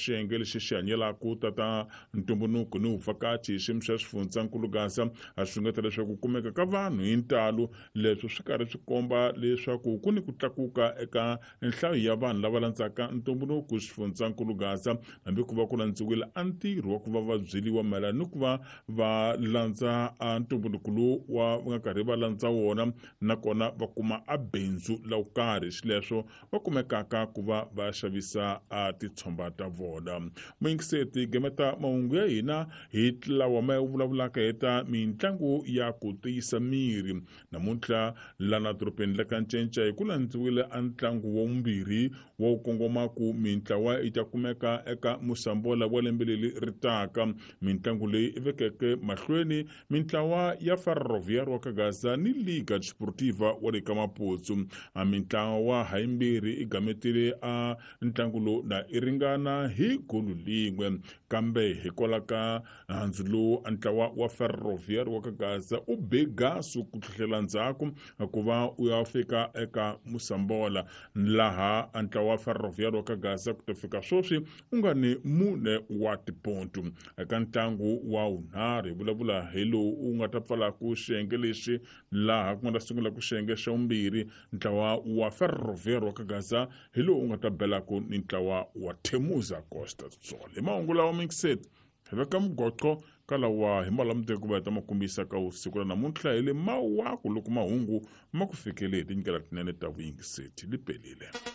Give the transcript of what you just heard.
xiyenge lexi xi hanyelaka tata ntumbuluko ni vuvhakachi hi xiyimo xa xifundzankulu Gaza a xungeta leswaku kumeka ka vanhu hi ntalo. Leswi swi karhi swi komba leswaku ku ni ku tlakuka eka nhlayo ya vanhu lava landzaka ntumbuluko xifundzankulu Gaza, hambi ku va ku landziwile a ntirho wa ku va va byeliwa mayelana ni ku va va landza a ntumbuluko lowu wa va nga karhi va landza wona, nakona va kuma a bindzu la karhi, xileswo va kumekaka ku va va xavisa a titshomba ta vona. Muyingiseti gemeta mahungu ya hina hi lawa ma vulavulaka hi ta mitlangu ya ku tiyisa miri. Namuntlha lana dorobeni la ka Ncenca hi ku landziwile a ntlangu wa vumbirhi wa wu kongoma ku mintlawa yi ta kumeka eka musambola wa lembe leri ri taka. Mintlangu leyi i vekeke mahlweni mintlawa ya Ferroviário wa ka Gaza ni Liga Desportiva wa le ka Maputsu. A mintlawa hayimbirhi i gametile a ntlangu lowu na i ringana hi golu lin'we, kambe hikwalaho ka handzu lowu a ntlawa wa Ferroviário wa ka Gaza u be gasu ku tlhela ndzhaku ku va u ya fika eka musambola, laha a ntlawa wa Ferroviário wa ka Gaza ku ta fika sweswi u nga ni 4 wa tipontu. Eka ntlangu wa vunharhu hi vulavula hi lowu u nga ta pfalaku xiyenge lexi, laha ku nga ta sungula ku xiyenge xa vumbirhi, ntlawa wa Ferroviário wa ka Gaza hi lowu u nga ta belaku ni ntlawa wa Temuza Costa Sol. Hi mahungu lawa mixed hi veka mugoqo ka lawa hi malamuteke ku va hi ta ma kombisa ka siku ra namuntlha hi le mawaku loko mahungu ma ku fikele hi tindlela tinene ta vuyingiseti li pelile.